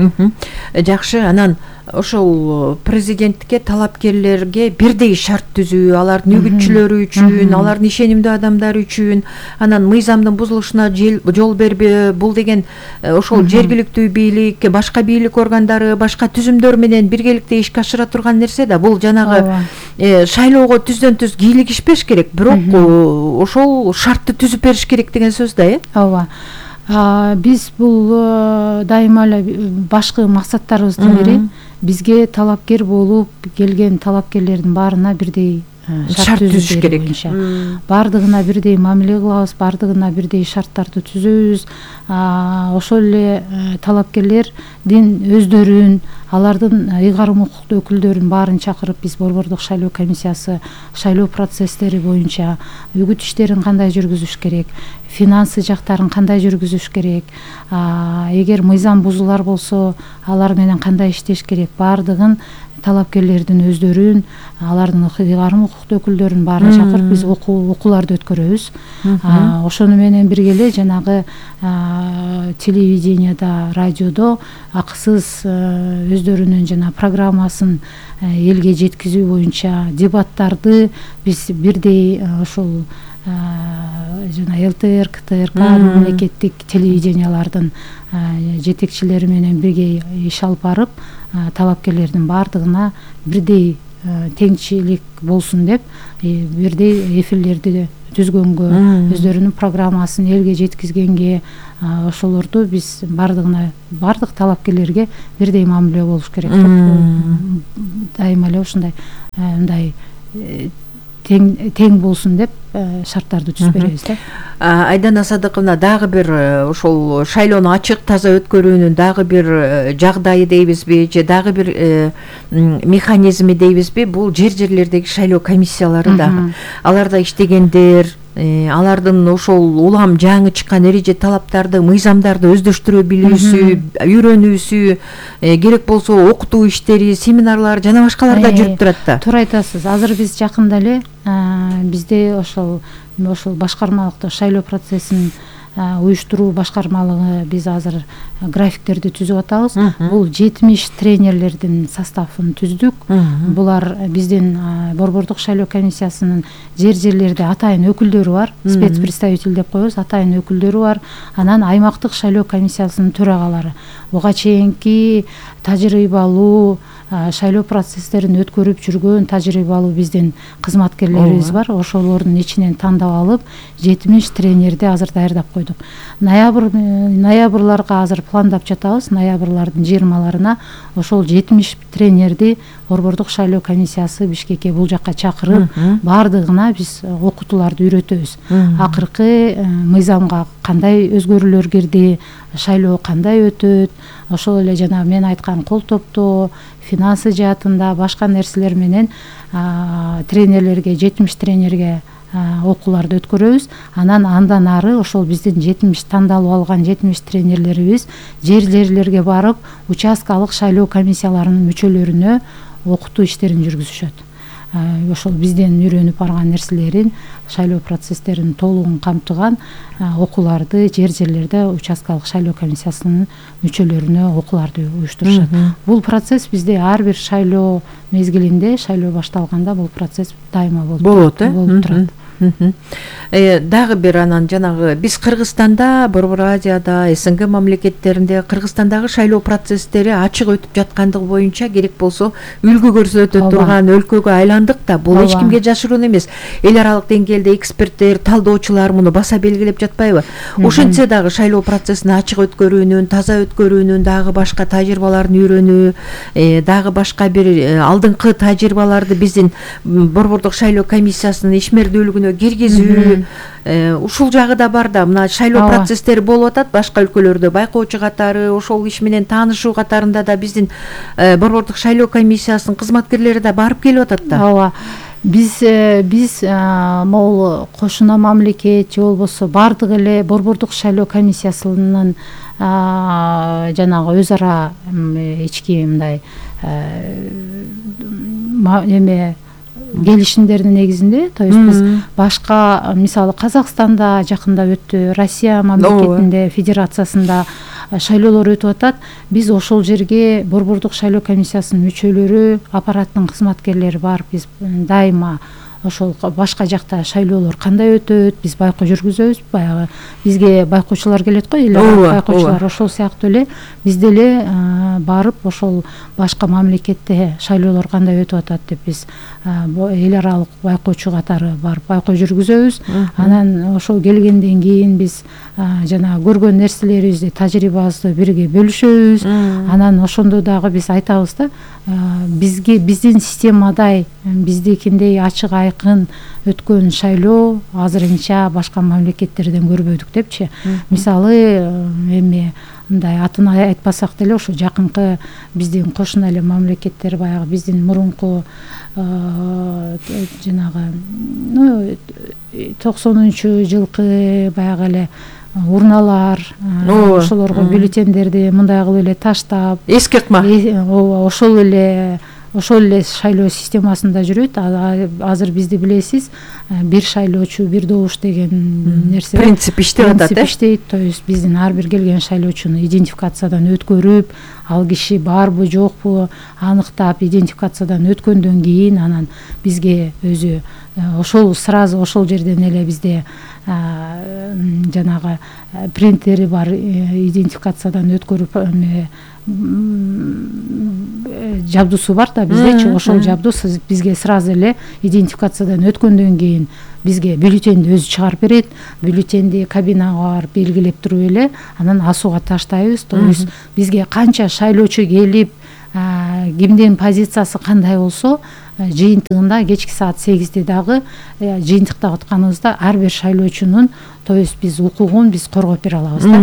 Жакшы, анан ошол президенттикке талапкерлерге бирдей шарт түзүү, алардын үгүтчүлөрү үчүн, алардын ишенимдүү адамдары үчүн, анан мыйзамдын бузулушуна жол бербөө, бул деген ошол жергиликтүү бийлик, башка бийлик органдары, башка түзүмдөр менен биргеликте ишке ашыра турган нерсе да. Бул жанагы шайлоого түздөн түз кийлигишпеш керек, бирок ошол шартты түзүп бериш керек деген сөз да, Ооба. Биз бул дайыма эле башкы максаттарыбыздын бири бизге талапкер болуп келген талапкерлердин баарына бирдей шарт түзүш керек. Бардыгына бирдей мамиле кылабыз, бардыгына бирдей шарттарды түзөбүз. Ошол эле талапкерлердин өздөрүн, алардын ыйгарым укуктуу өкүлдөрүн баарын чакырып биз Борбордук шайлоо комиссиясы шайлоо процесстери боюнча үгүт иштерин кандай жүргүзүш керек, финансы жактарын кандай жүргүзүш керек, эгер мыйзам бузулар болсо алар менен кандай иштеш керек, баардыгын талапкерлердин өздөрүн, алардын ыйгарым укуктуу өкүлдөрүн баарын чакырып биз окууларды өткөрөбүз. Ошону менен бирге эле жанагы телевиденияда, радиодо акысыз өздөрүнүн жана программасын элге жеткизүү боюнча дебаттарды биз бирдей ошол жана ЛТР, КТРК мамлекеттик телевидениялардын жетекчилери менен бирге иш алып барып, талапкерлердин баардыгына бирдей теңчилик болсун деп бирдей эфирлерди түзгөнгө, өздөрүнүн программасын элге жеткизгенге, ошолорду биз бардык талапкерлерге бирдей мамиле болуш керек деп дайыма эле ушундай мындай тең болсун деп шарттарды түзүп беребиз да. Айдана Садыковна, дагы бир ошол шайлоону ачык, таза өткөрүүнүн дагы бир жагдайы дейбизби, же дагы бир механизми дейбизби, бул жерлердеги шайлоо комиссиялары дагы. Аларда иштегендер, алардын ошол улам жаңы чыккан эреже талаптарды, мыйзамдарды өздөштүрө билүүсү, үйрөнүүсү, керек болсо окутуу иштери, семинарлар жана башкалар да жүрүп турат да. Туура айтасыз. Азыр биз жакында эле бизде ошол башкармалыкта шайлоо процессин уюштуруу башкармалыгы биз азыр графиктерди түзүп атабыз. Бул 70 тренерлердин составын түздүк. Булар биздин Борбордук шайлоо комиссиясынын жерлерде атайын өкүлдөрү бар, спецпредставитель деп коебуз, атайын өкүлдөрү бар. Анан аймактык шайлоо комиссиясынын төрагалары. Буга чейинки тажрыйбалуу шайлоо процесстерин өткөрүп жүргөн тажрыйбалуу биздин кызматкерлерибиз бар. Ошолордун ичинен тандап алып 70 тренерди азыр даярдап койдук. Ноябрларга азыр пландап жатабыз. Ноябрлардын 20-ларына ошол 70 тренерди Борбордук шайлоо комиссиясы Бишкекке бул жакка чакырып, баардыгына биз окутууларды үйрөтөбүз. Акыркы мыйзамга кандай өзгөрүүлөр кирди, шайлоо кандай өтөт, ошол эле жана мен айткан кол топтоо, финансы жаатында башка нерселер менен тренерлерге, 70 тренерге окууларды өткөрөбүз. Андан ары ошол биздин 70 тандалып алган 70 тренерлерибиз жерлерге барып, участкалык шайлоо комиссияларынын мүчөлөрүнө окутуу иштерин жүргүзүшөт. Ошол бизден үйрөнүп барган нерселерин, шайлоо процесстерин толугун камтыган окууларды жерлерде участкалык шайлоо комиссиясынын мүчөлөрүнө окууларды уюштурушат. Бул процесс бизде ар бир шайлоо мезгилинде, шайлоо башталганда бул процесс дайыма болуп турат. Дагы бир анан жанагы биз Кыргызстанда, Борбор Азияда, СНГ мамлекеттеринде Кыргызстандагы шайлоо процесстери ачык өтүп жаткандыгы боюнча керек болсо үлгү көрсөтө турган өлкөгө айландык да. Бул эч кимге жашыруун эмес. Эл аралык деңгээлде эксперттер, талдоочулар муну баса белгилеп жатпайбы? Ошентсе дагы шайлоо процессин ачык өткөрүүнүн, таза өткөрүүнүн дагы башка тажрыйбаларын үйрөнүү, дагы башка бир алдыңкы тажрыйбаларды биздин Борбордук шайлоо комиссиясынын ишмердүүлүгүнө киргизүү, ушул жагы да бар да. Мына шайлоо процесстери болуп атат башка өлкөлөрдө, байкоочу катары, ошол иш менен таанышуу катарында да биздин Борбордук шайлоо комиссиясынын кызматкерлери да барып келип атат да. Ооба. Биз могул кошуна мамлекет же болбосо бардык эле Борбордук шайлоо комиссиясынын жанагы өз ара ички мындай эме келишимдердин негизинде, то есть биз башка мисалы Казакстанда жакында өттү, Россия мамлекетинде, федерациясында шайлоолор өтүп атат. Биз ошол жерге Борбордук шайлоо комиссиясынын мүчөлөрү, аппараттын кызматкерлери барып, биз дайыма ошол башка жакта шайлоолор кандай өтөт, биз байкоо жүргүзөбүз. Баягы бизге байкоочулар келет го, эл аралык байкоочулар, ошол сыяктуу эле биз деле барып ошол башка мамлекетте шайлоолор кандай өтүп атат деп биз эл аралык байкоочу катары барып байкоо жүргүзөбүз. Анан ошол келгенден кийин биз жанагы көргөн нерселерибизди, тажрыйбабызды бирге бөлүшөбүз. Анан ошондо дагы биз айтабыз да, биздин системадай, биздикиндей ачык айкын өткөн шайлоо азырынча башка мамлекеттерден көрбөдүк депчи. Мисалы эми мындай атын айтпасак деле, ошо жакынкы биздин кошуна эле мамлекеттер, баягы биздин мурунку жанагы 90-жылкы баягы эле урналар, ошолорго бюллетендерди мындай кылып эле таштап, эске ыкма, ошол эле шайлоо системасында жүрөт. Азыр бизди билесиз, бир шайлоочу бир добуш деген нерсе принцип иштеп атат. Иштейт, то есть биздин ар бир келген шайлоочуну идентификациядан өткөрүп, ал киши барбы жокпу аныктап, идентификациядан өткөндөн кийин анан бизге өзү ошол сразу ошол жерден эле бизде жанагы принтери бар, идентификациядан өткөрүп жабдуусу бар да биздечи. Ошол жабдуу бизге сразу эле идентификациядан өткөндөн кийин бизге бюллетенди өзү чыгарып берет. Бюллетенди кабинага барып белгилеп туруп эле анан асууга таштайбыз. То есть бизге канча шайлоочу келип, кимдин позициясы кандай болсо, жыйынтыгында кечки саат 8-де дагы жыйынтыкта атканыбызда ар бир шайлоочунун, то есть биз укугун биз коргоп бере алабыз да.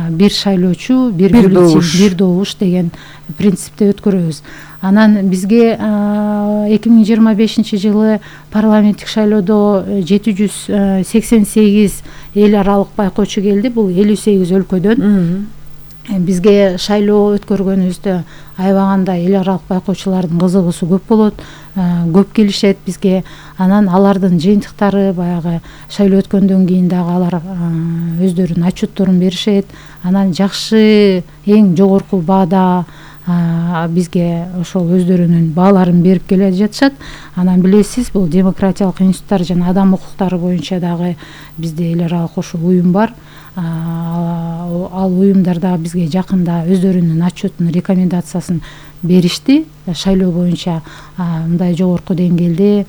Бир шайлоочу бир бюллетен, бир добуш деген принципте өткөрөбүз. Анан бизге 2025-жылы парламенттик шайлоодо 788 эл аралык байкоочу келди. Бул 58 өлкөдөн. Бизге шайлоо өткөргөнүбүздө аябагандай эл аралык байкоочулардын кызыгуусу көп болот, көп келишет бизге. Анан алардын жыйынтыктары баягы шайлоо өткөндөн кийин дагы алар өздөрүнүн отчетторун беришет. Анан жакшы, эң жогорку баада бизге ошол өздөрүнүн бааларын берип келе жатышат. Анан билесиз, бул демократиялык институттар жана адам укуктары боюнча дагы бизде эл аралык ошол уюм бар. Ал уюмдар дагы бизге жакында өздөрүнүн отчетун, рекомендациясын беришти. Шайлоо боюнча мындай жогорку деңгээлде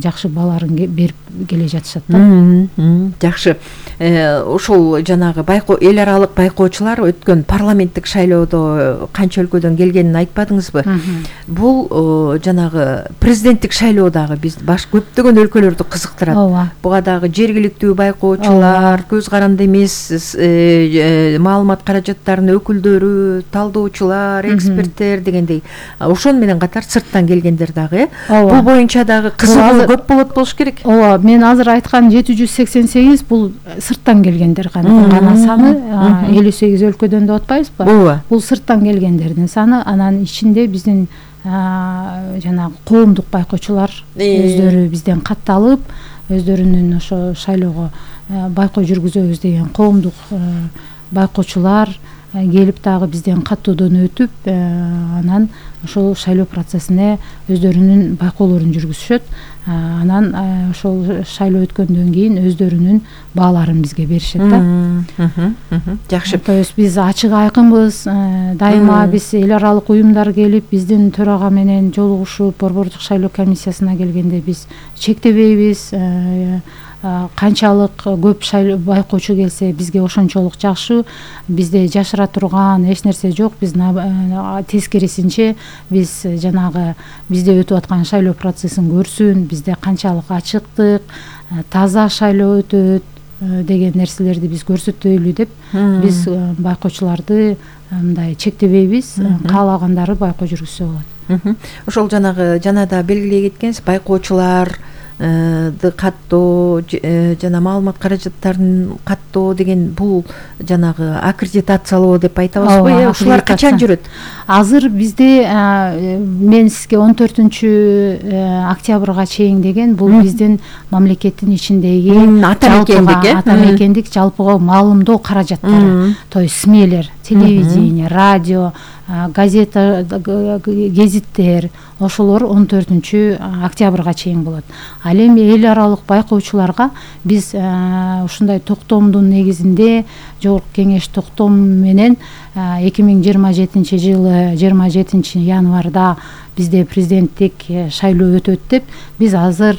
жакшы бааларын берип келе жатышат да. Жакшы. Ошол жанагы эл аралык байкоочулар өткөн парламенттик шайлоодо канча өлкөдөн келгенин айтпадыңызбы? Бул жанагы президенттик шайлоо дагы биз көптөгөн өлкөлөрдү кызыктырат. Буга дагы жергиликтүү байкоочулар, көз каранды эмес маалымат каражаттарынын өкүлдөрү, талдоочулар, эксперттер дегендей, ошон менен катар сырттан келгендер дагы. Бул боюнча дагы кызыгуу көп болот болуш керек. Ооба, мен азыр айткан 788 бул сырттан келгендер гана саны, 58 өлкөдөн деп атпайбызбы? Бул сырттан келгендердин саны. Анан ичинде биздин жанагы коомдук байкоочулар өздөрү бизден катталып, өздөрүнүн ошо шайлоого байкоо жүргүзөбүз деген коомдук байкоочулар келип дагы бизден каттоодон өтүп, анан ошол шайлоо процессине өздөрүнүн байкоолорун жүргүзүшөт. Анан ошол шайлоо өткөндөн кийин өздөрүнүн бааларын бизге беришет да. Жакшы. То есть биз ачык айкынбыз. Дайыма биз эл аралык уюмдар келип, биздин төрага менен жолугушуп, Борбордук шайлоо комиссиясына келгенде биз чектебейбиз. Канчалык көп байкоочу келсе бизге ошончолук жакшы. Бизде жашыра турган эч нерсе жок. Биз тескерисинче биз жанагы бизде өтүп аткан шайлоо процессин көрсүн, бизде канчалык ачыктык, таза шайлоо өтөт деген нерселерди биз көрсөтөлү деп биз байкоочуларды мындай чектебейбиз. Каалагандары байкоо жүргүзсө болот. Ошол жанагы жана да белгилей кеткенсиз, байкоочулар каттоо жана маалымат каражаттарын каттоо деген бул жанагы аккредитациялоо деп айтабызбы? Ушулар качан жүрөт? Азыр бизде мен сизге 14 октябрга чейин деген бул биздин мамлекеттин ичиндеги атамекендик жалпыга маалымдоо каражаттары, то есть СМИлер, телевидение, радио, газета, гезиттер, ошолор 14 октябрга чейин болот. Ал эми эл аралык байкоочуларга биз ушундай токтомдун негизинде жогорку кеңеш токтом менен 2027 жылы 27 январда бизде президенттик шайлоо өтөт деп биз азыр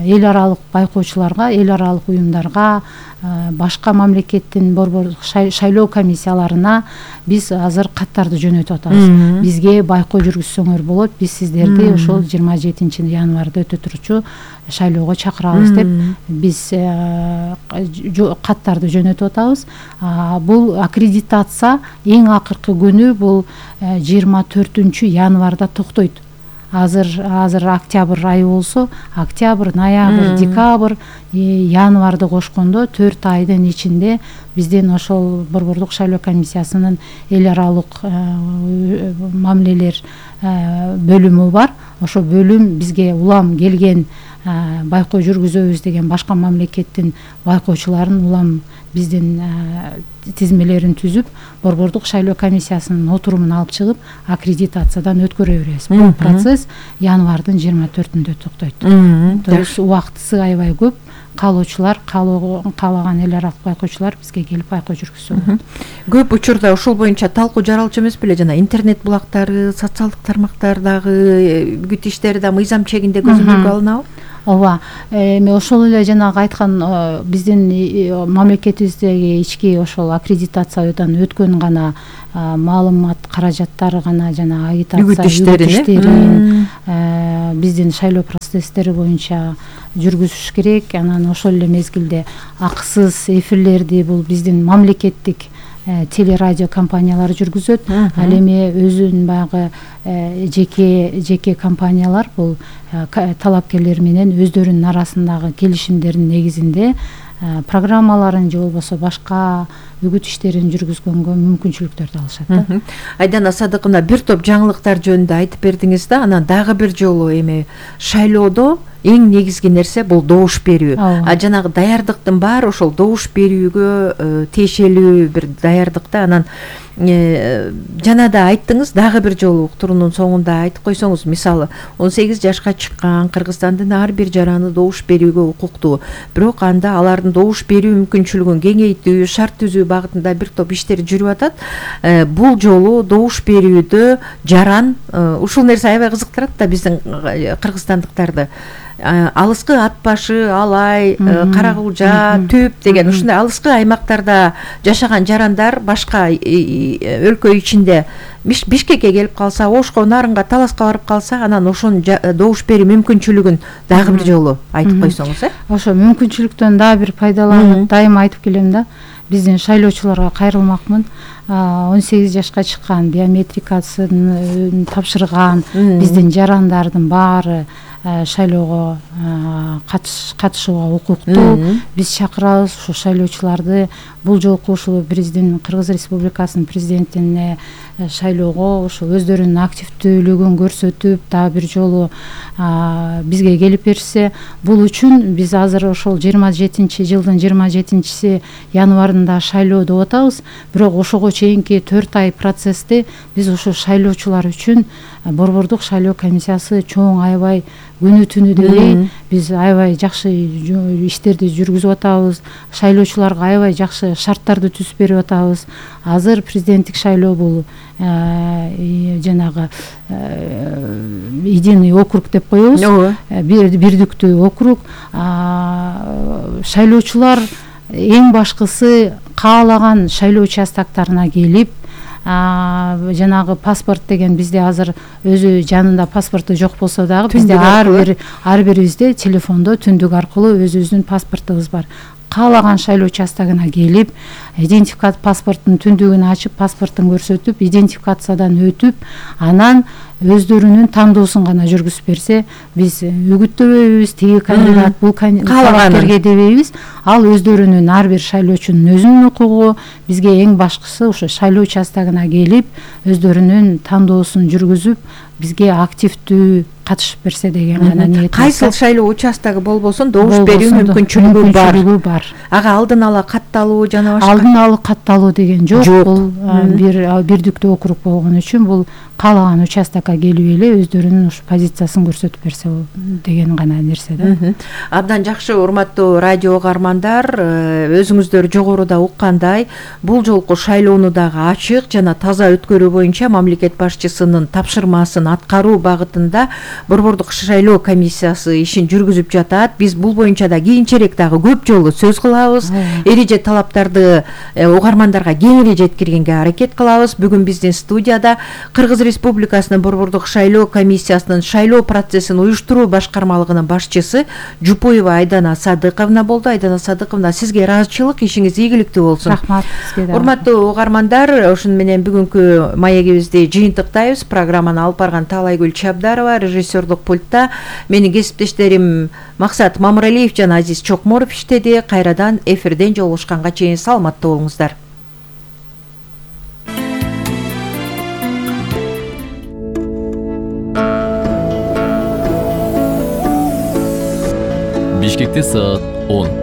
эл аралык байкоочуларга, эл аралык уюмдарга, башка мамлекеттин борбордук шайлоо комиссияларына биз азыр каттарды жөнөтүп атабыз. Бизге байкоо жүргүзсөңөр болот, биз сиздерди ошол 27 январда өтө турчу шайлоого чакырабыз деп биз каттарды жөнөтүп атабыз. Бул аккредитация эң акыркы күнү бул 24 январда токтойт. Азыр октябрь айы болсо, октябрь, ноябрь, декабрь, январды кошкондо 4 айдын ичинде биздин ошол борбордук шайлоо комиссиясынын эл аралык мамилелер бөлүмү бар. Ошо бөлүм бизге улам келген байкоо жүргүзөбүз деген башка мамлекеттин байкоочуларын улам биздин тизмелерин түзүп, борбордук шайлоо комиссиясынын отурумун алып чыгып, аккредитациядан өткөрө беребиз. Бул процесс январдын 24-ндө токтойт. То есть убактысы аябай көп. Каалоочулар, каалаган эл аралык байкоочулар бизге келип байкоо жүргүзсө болот. Көп учурда ушул боюнча талкуу жаралчу эмес беле, жана интернет булактары, социалдык тармактардагы бүт иштери да мыйзам чегинде көзөмөлгө алынабы? Ооба, эми ошол эле жанагы айткан биздин мамлекетибиздеги ички ошол аккредитациядан өткөн гана маалымат каражаттары гана жана агитация иштерин биздин шайлоо процесстери боюнча жүргүзүш керек. Анан ошол эле мезгилде акысыз эфирлерди бул биздин мамлекеттик телерадио компаниялар жүргүзөт. Ал эми өзүнүн баягы жеке компаниялар бул талапкерлер менен өздөрүнүн арасындагы келишимдердин негизинде программаларын же болбосо башка үгүт иштерин жүргүзгөнгө мүмкүнчүлүктөрдү алышат. Айдана Садыковна, бир топ жаңылыктар жөнүндө айтып бердиңиз да, анан дагы бир жолу эми шайлоодо эң негизги нерсе бул добуш берүү. Жанагы даярдыктын баары ошол добуш берүүгө тиешелүү бир даярдыкта. Анан жана да айттыңыз, дагы бир жолу уктуруунун соңунда айтып койсоңуз, мисалы 18 жашка чыккан Кыргызстандын ар бир жараны добуш берүүгө укуктуу. Бирок анда алардын добуш берүү мүмкүнчүлүгүн кеңейтүү, шарт түзүү багытында бир топ иштер жүрүп атат. Бул жолу добуш берүүдө жаран ушул нерсе аябай кызыктырат да биздин кыргызстандыктарды. Алыскы ат башы, Алай, Каракулжа, Түп деген ушундай алыскы аймактарда жашаган жарандар башка өлкө ичинде Бишкекке келип калса, Ошко, Нарынга, Таласка барып калса, анан ошонун добуш берүү мүмкүнчүлүгүн дагы бир жолу айтып койсоңуз. Ошо мүмкүнчүлүктөн дагы бир пайдаланып дайыма айтып келем да. Биздин шайлоочуларга кайрылмакмын. 18 жашка чыккан, биометрикасын тапшырган биздин жарандардын баары шайлоого катышууга укуктуу. Биз чакырабыз ушу шайлоочуларды бул жолку ушул биздин Кыргыз Республикасынын президентине шайлоого ушу өздөрүнүн активдүүлүгүн көрсөтүп, дагы бир жолу бизге келип берсе, бул үчүн биз азыр ошол 27 жылдын 27 январында шайлоо деп атабыз. Бирок ошого чейинки 4 ай процессти биз ушу шайлоочулар үчүн борбордук шайлоо комиссиясы чоң аябай күнү түнү дебей биз аябай жакшы иштерди жүргүзүп атабыз. Шайлоочуларга аябай жакшы шарттарды түзүп берип атабыз. Азыр президенттик шайлоо бул жанагы единый округ деп коебуз. Бирдиктүү округ. Шайлоочулар эң башкысы каалаган шайлоо участоктарына келип, жанагы паспорт деген бизде азыр өзү жанында паспорту жок болсо дагы бизде ар бирибизде телефондо түндүк аркылуу өзүбүздүн паспортубуз бар. каалаган шайлоо участогуна келип, идентификат паспорттун түндүгүн ачып, паспорттун көрсөтүп, идентификациядан өтүп, анан өздөрүнүн тандоосун гана жүргүзүп берсе, биз үгүттөбөйбүз, тиги кандидат бул талапкерге дебейбиз. Ал өздөрүнүн ар бир шайлоочунун өзүнүн укугу. Бизге эң башкысы ошо шайлоо участогуна келип, өздөрүнүн тандоосун жүргүзүп, бизге активдүү катышып берсе деген гана ниет. Кайсыл шайлоо участогу болбосун добуш берүү мүмкүнчүлүгү бар. Ага алдын ала катталуу жана башка. Алдын ала катталуу деген жок. Бул бирдиктүү округ болгон үчүн бул каалаган участокко келип эле өздөрүнүн ушу позициясын көрсөтүп берсе деген гана нерсе да. Абдан жакшы, урматтуу радио угармандар, өзүңүздөр жогоруда уккандай, бул жолку шайлоону дагы ачык жана таза өткөрүү боюнча мамлекет башчысынын тапшырмасын аткаруу багытында Борбордук шайлоо комиссиясы ишин жүргүзүп жатат. Биз бул боюнча да кийинчерээк дагы көп жолу сөз кылабыз. Эреже талаптарды угармандарга кеңири жеткиргенге аракет кылабыз. Бүгүн биздин студияда Кыргыз Республикасынын Борбордук шайлоо комиссиясынын шайлоо процессин уюштуруу башкармалыгынын башчысы Жупуева Айдана Садыковна болду. Айдана Садыковна, сизге ыраазычылык, ишиңиз ийгиликтүү болсун. Рахмат сизге да. Урматтуу угармандар, ошону менен бүгүнкү маегибизди жыйынтыктайбыз. Программаны алып барган Таалайгүл Чабдарова, режиссерлук пультта менин кесиптештерим Максат Мамыралиев жана Азиз Чокморов иштеди. Кайрадан эфирден жолугушканга чейин саламаттуу болуңуздар. Бишкекте саат 10.